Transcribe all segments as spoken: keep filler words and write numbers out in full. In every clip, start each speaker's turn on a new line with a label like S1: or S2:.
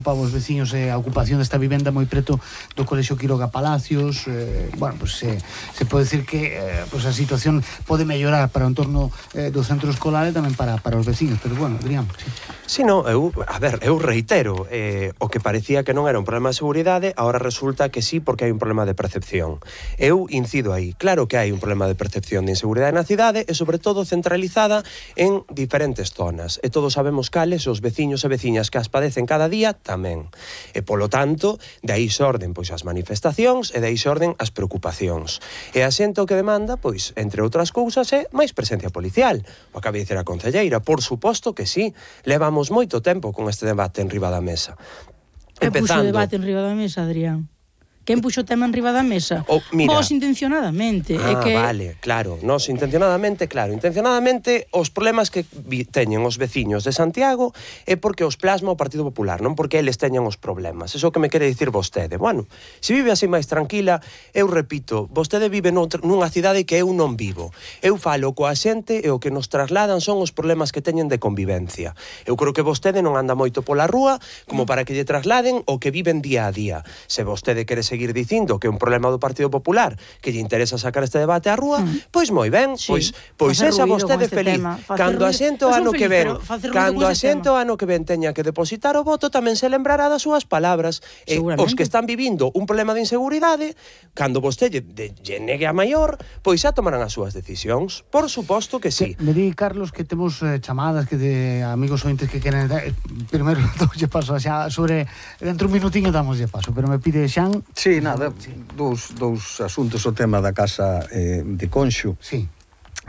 S1: para os veciños eh, a ocupación desta vivenda moi preto do Colexio Quiroga Palacios. eh, bueno, pues se, se pode decir que eh, pues a situación pode mellorar para o entorno eh, do centro escolar e tamén para, para os veciños, pero bueno, Adrián, sí.
S2: Si, no, eu, a ver, eu reitero, eh, o que parecía que non era un problema de seguridade, agora resulta que sí, porque hai un problema de percepción. Eu incido aí, claro que hai un problema de percepción de inseguridade na cidade e sobre todo centralizada en diferentes zonas, e todos sabemos cales os veciños e veciñas que as padecen cada día tamén. E polo tanto, de aí xorden pois as manifestacións e de aí xorden as preocupacións. E a xente o que demanda, pois, entre outras cousas, é máis presencia policial. O acaba de dizer a concelleira, por suposto que sí. Levamos moito tempo con este debate en riba da mesa.
S3: Que puxo o debate en riba da mesa, Adrián? Quen puxo o tema en riba da mesa?
S2: Oh, mira.
S3: Vos intencionadamente.
S2: Ah,
S3: é que...
S2: vale, claro. Nos intencionadamente, claro. Intencionadamente, os problemas que vi, teñen os veciños de Santiago é porque os plasma o Partido Popular, non porque eles teñan os problemas. Eso que me quere dicir vostede. Bueno, se vive así máis tranquila, eu repito, vostede vive noutra, nunha cidade que eu non vivo. Eu falo coa xente e o que nos trasladan son os problemas que teñen de convivencia. Eu creo que vostede non anda moito pola rúa como para que lle trasladen o que viven día a día. Se vostede quere seguir dicindo que é un problema do Partido Popular que lle interesa sacar este debate á rúa, mm. pois moi ben, sí. pois pois esa vostede
S3: este
S2: feliz. Cando a xente o ano que ven, cando a xente o ano que ven teña que depositar o voto, tamén se lembrará das súas palabras. E os que están vivindo un problema de inseguridade, cando vostede lle negue a maior, pois xa tomarán as súas decisións. Por suposto que sí.
S1: Me di, Carlos, que temos eh, chamadas que de amigos ointes que queren eh, primeiro doulle paso xa sobre dentro un minutiño damoslle paso, pero me pide Xan.
S4: Sí, nada, sí. Dous, dous asuntos, o tema da casa eh, de Conxo.
S1: Sí.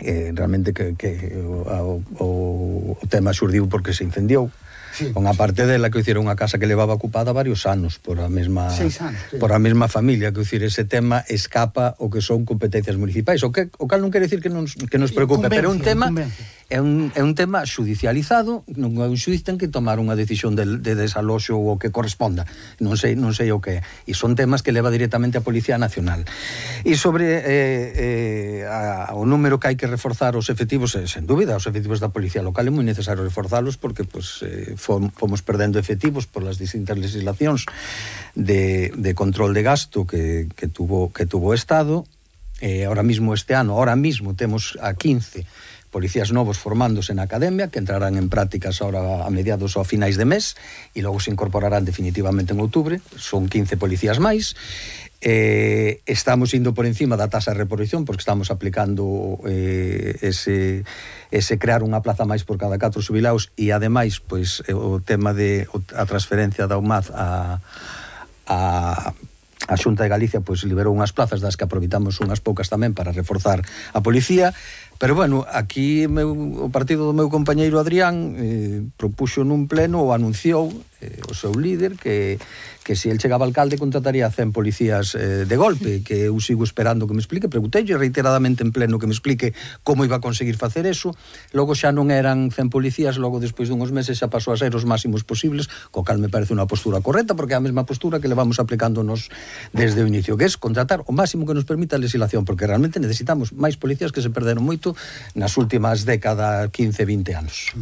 S4: Eh, realmente que, que o, o, o tema xurdiu porque se incendiou. Sí, unha parte dela que hiciera unha casa que levaba ocupada varios anos por a mesma
S1: Seis anos, sí.
S4: por a mesma familia, que hicir ese tema escapa o que son competencias municipais, o que o cal non quere decir que nos que nos preocupe, pero é un tema é un é un tema xudicializado, non é un xuiz ten que tomar unha decisión de, de desaloxo ou o que corresponda. Non sei non sei o que é. E son temas que leva directamente a Policía Nacional. E sobre eh, eh, a, o número que hai que reforzar os efectivos, eh, sen dúbida, os efectivos da Policía Local é moi necesario reforzalos porque pues, eh, fomos perdendo efectivos por las distintas legislacións de, de control de gasto que, que tuvo que tuvo o Estado. Eh, ahora mismo este ano, ahora mismo temos a quince policías novos formándose na academia, que entrarán en prácticas ahora a mediados ou a finais de mes, e logo se incorporarán definitivamente en outubro. Son quince policías máis. Eh, estamos indo por encima da tasa de reposición porque estamos aplicando eh, ese, ese crear unha plaza máis por cada catro xubilados e ademais pois, o tema de a transferencia da U M A D a, a a Xunta de Galicia pois liberou unhas plazas das que aproveitamos unhas poucas tamén para reforzar a policía. Pero bueno, aquí meu, o partido do meu compañeiro Adrián eh, propuxo nun pleno ou anunciou eh, o seu líder que, que se el chegaba alcalde contrataría cen policías eh, de golpe, que eu sigo esperando que me explique. Preguntei reiteradamente en pleno que me explique como iba a conseguir facer eso. Logo xa non eran cen policías, logo despois dunhos meses xa pasou a ser os máximos posibles, co cal me parece unha postura correcta porque é a mesma postura que levamos aplicándonos desde o inicio, que é contratar o máximo que nos permita a legislación, porque realmente necesitamos máis policías que se perderon moito nas últimas décadas, quince, vinte anos.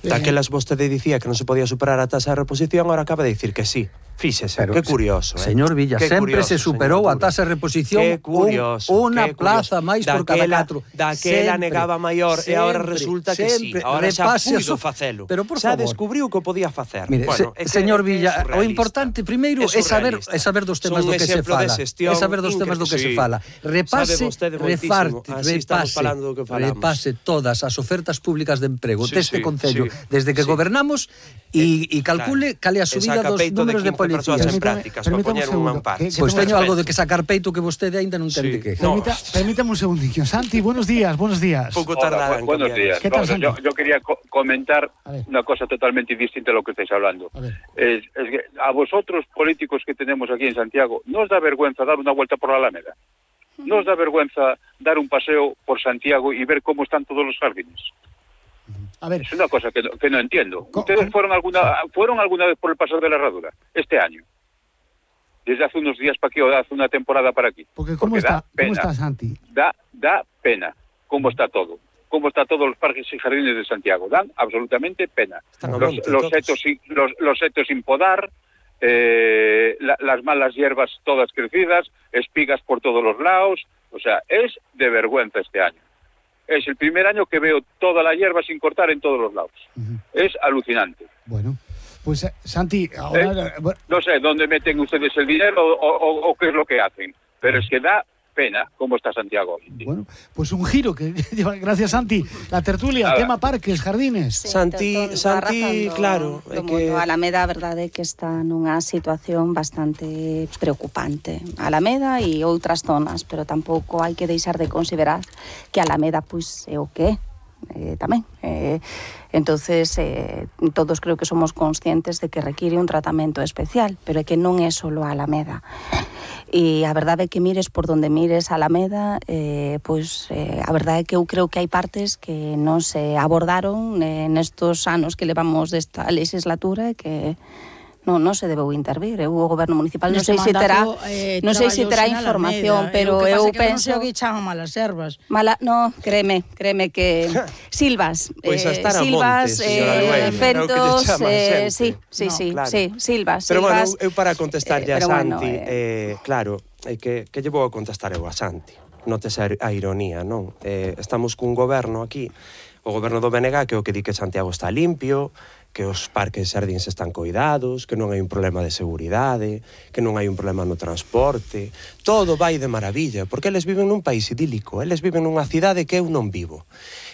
S2: Daquelas vostede dicía que non se podía superar a tasa de reposición, ahora acaba de dicir que sí. Fíxese, pero, que curioso, eh?
S4: Señor Villa, que sempre curioso, se superou a tasa de reposición unha plaza máis por cada catro.
S2: Daquela negaba maior sempre, e agora resulta que sí. Agora xa puido facelo.
S4: Pero por
S2: xa
S4: favor,
S2: descubriu que o podía facer.
S4: Mire, bueno, se, que, señor Villa, o importante primeiro é saber, é saber dos temas do que se fala. É saber dos temas do que se fala. Repase, reparte, repase, repase todas as ofertas públicas de emprego deste concello desde que gobernamos e calcule cal é a subida dos números de policías
S2: en prácticas para poñer un amparo.
S4: Pois teño algo de que sacar peito que vostede aínda non ten de que.
S1: Permítame un segundinho. Santi, buenos días, buenos días.
S2: Pouco tardarán.
S5: Buenos días.
S1: ¿Qué tal,
S5: yo, yo quería co comentar una cosa totalmente distinta a lo que estáis hablando. Es, es que a vosotros, políticos que tenemos aquí en Santiago, ¿no os da vergüenza dar una vuelta por la Alameda? ¿No os da vergüenza dar un paseo por Santiago y ver cómo están todos los jardines?
S1: A ver,
S5: es una cosa que no, que no entiendo. ¿Ustedes fueron alguna fueron alguna vez por el Paseo de la Herradura este año? Desde hace unos días para aquí o hace una temporada para aquí.
S1: Porque ¿cómo, Porque está, ¿cómo está, Santi?
S5: Da, da pena cómo está todo. como está todos los parques y jardines de Santiago. Dan absolutamente pena. Los, los, setos, los, los setos sin podar, eh, la, las malas hierbas todas crecidas, espigas por todos los lados. O sea, es de vergüenza este año. Es el primer año que veo toda la hierba sin cortar en todos los lados. Uh-huh. Es alucinante.
S1: Bueno, pues Santi, ahora...
S5: ¿Eh? No sé dónde meten ustedes el dinero o, o, o qué es lo que hacen, pero es que da pena cómo está Santiago hoy.
S1: Bueno, pues un giro que lleva, gracias Santi, la tertulia, Nada. tema parques, jardines.
S2: Sí, Santi, todo, todo Santi, claro,
S6: é que Alameda, a verdade é que está nunha situación bastante preocupante. Alameda e outras zonas, pero tampouco hai que deixar de considerar que Alameda pois é o que é. Eh, tamén eh, entonces eh, todos creo que somos conscientes de que require un tratamento especial, pero é que non é solo a Alameda. E a verdade é que mires por donde mires a Alameda, eh, pois eh, a verdade é que eu creo que hai partes que non se abordaron eh, nestos anos que levamos desta legislatura e que non, non se debeu intervir. Eu, o goberno municipal non sei se terá eh, non sei se terá información, pero eu, eu penso
S3: que non sei o que chaman malas ervas.
S6: Mala, no, créeme, créeme que silvas,
S2: pois
S6: eh, silvas, eh, fentos, eh, sí, sí, no, sí, claro. sí, silvas,
S2: pero
S6: silvas.
S2: Pero bueno, eu para contestarlle
S6: eh,
S2: a Santi,
S6: bueno, eh...
S2: eh, claro, é que que lle vou a contestar eu a Santi. Notes a ironía, non? Eh, estamos cun goberno aquí, o goberno do B N G, que é o que di que Santiago está limpio, que os parques e xardíns están coidados, que non hai un problema de seguridade, que non hai un problema no transporte, todo vai de maravilla, porque eles viven nun país idílico, eles viven nunha cidade que eu non vivo.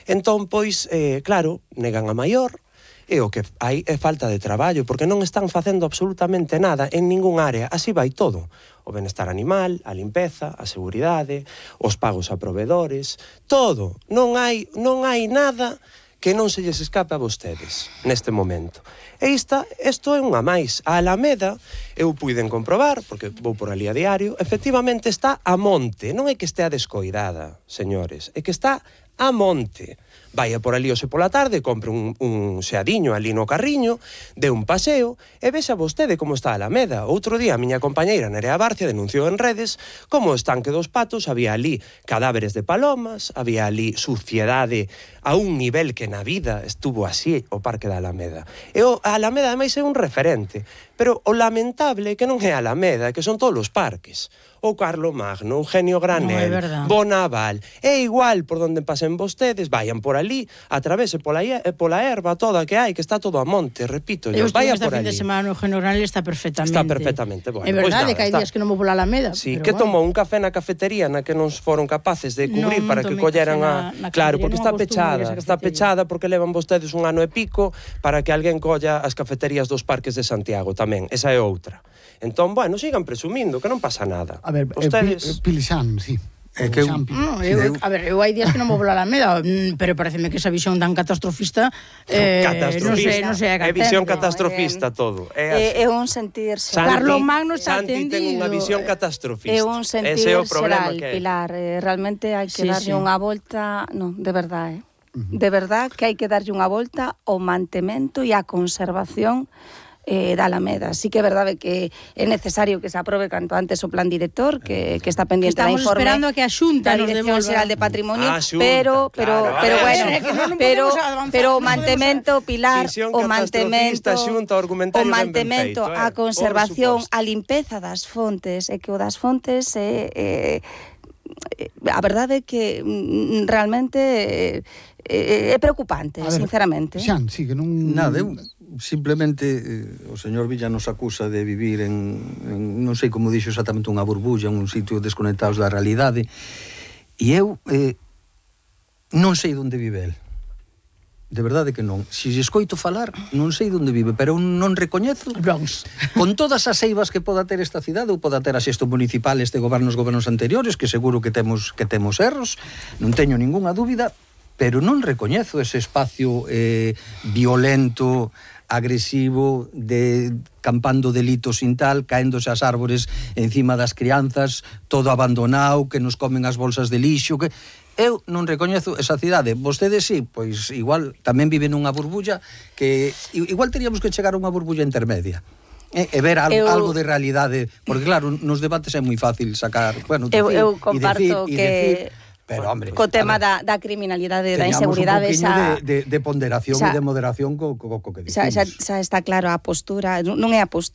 S2: Entón, pois, eh, claro, negan a maior, e o que hai é falta de traballo, porque non están facendo absolutamente nada en ningún área, así vai todo. O benestar animal, a limpeza, a seguridade, os pagos a provedores, todo. Non hai, non hai nada que non se lles escape a vostedes neste momento. E esta, isto é unha máis. A Alameda, eu puiden comprobar, porque vou por ali a diario, efectivamente está a monte. Non é que estea descoidada, señores, é que está a monte. Vaya por ali hoxe pola tarde, compre un, un xeadiño ali no carriño, de un paseo, e vexa vostede como está a Alameda. Outro día a miña compañeira Nerea Barcia denunciou en redes como o estanque dos Patos había ali cadáveres de palomas, había ali suciedade a un nivel que na vida estuvo así o Parque da Alameda. E o a Alameda ademais é un referente, pero o lamentable é que non é a Alameda, que son todos os parques. O Carlomagno, Eugenio Granel, no, Bonaval, é igual por donde pasen vostedes, vayan por ali, atravese pola, pola erva toda que hai, que está todo a monte, repito, yo, vaya por ali.
S3: Fin de semana o Eugenio Granel está perfectamente.
S2: Está perfectamente, bueno.
S3: É verdade
S2: pues nada,
S3: que hai
S2: está...
S3: días que non vou pola Alameda.
S2: Sí, que bueno. Tomou un café na cafetería na que non foron capaces de cubrir no, para que colleran a... Na, na claro, porque está pechada, está pechada porque levan vostedes un ano e pico para que alguén colla as cafeterías dos parques de Santiago tamén, esa é outra. Entón, bueno, sigan presumindo, que non pasa nada.
S1: A ver, Ustedes... Pilixán, sí.
S3: É que eu, no, eu, a ver, eu hai días que non vou volar a Alameda, pero pareceme que esa visión tan catastrofista eh,
S2: catastrofista.
S3: non sei, non sei a
S2: é visión catastrofista no, todo.
S6: É, é un sentirse.
S3: Carlomagno está
S2: Santi
S3: atendido.
S2: ten unha visión catastrofista.
S6: É un sentirse é o problema que Pilar, eh, realmente hai que sí, darlle sí. unha volta, non, de verdade, eh. Uh-huh. De verdade que hai que darlle unha volta ao mantemento e á conservación Eh, da Alameda. Sí que é verdade que é necesario que se aprobe canto antes o plan director, que, que está pendiente da informe.
S3: Estamos esperando a que a Xunta
S6: da Dirección Xeral de Patrimonio,
S2: ah, xunta,
S6: pero pero
S2: claro,
S6: pero
S2: ver,
S6: bueno,
S3: no
S6: pero
S3: avanzar,
S6: pero o
S3: no
S6: mantemento, Pilar, o mantemento,
S2: xunta, o,
S6: o mantemento, feito, eh? a conservación, a limpeza das fontes, é que o das fontes é eh, eh, a verdade é que mm, realmente é, é preocupante, ver, sinceramente.
S1: Xan, sí, que non...
S4: Nada, eu simplemente eh, o señor Villa nos acusa de vivir en, en non sei como dixo exactamente unha burbulla, un sitio desconectados da realidade, e eu eh, non sei onde vive el. De verdade que non. Se escoito falar, non sei onde vive, pero non recoñezo.
S3: Bronx.
S4: Con todas as eivas que poda ter esta cidade, ou poda ter a xesto municipal este gobernos gobernos anteriores, que seguro que temos que temos erros, non teño ningunha dúbida, pero non recoñezo ese espacio eh, violento, agresivo, de campando delitos sin tal, caéndose as árbores encima das crianzas, todo abandonado, que nos comen as bolsas de lixo, que eu non recoñezo esa cidade. Vostedes sí, pois igual tamén viven nunha burbulla que igual teríamos que chegar a unha burbulla intermedia. E, e ver algo, eu, algo de realidade, porque claro, nos debates é moi fácil sacar, bueno,
S6: eu, eu comparto
S4: e decir,
S6: que
S4: e decir, Pero, hombre,
S6: co tema da, da criminalidade, da
S4: teñamos
S6: inseguridade,
S4: un
S6: xa,
S4: de, de, de ponderación
S6: xa,
S4: e de moderación co, co, co que
S6: xa,
S4: dicimos.
S6: xa, xa está claro a postura, non é a postura,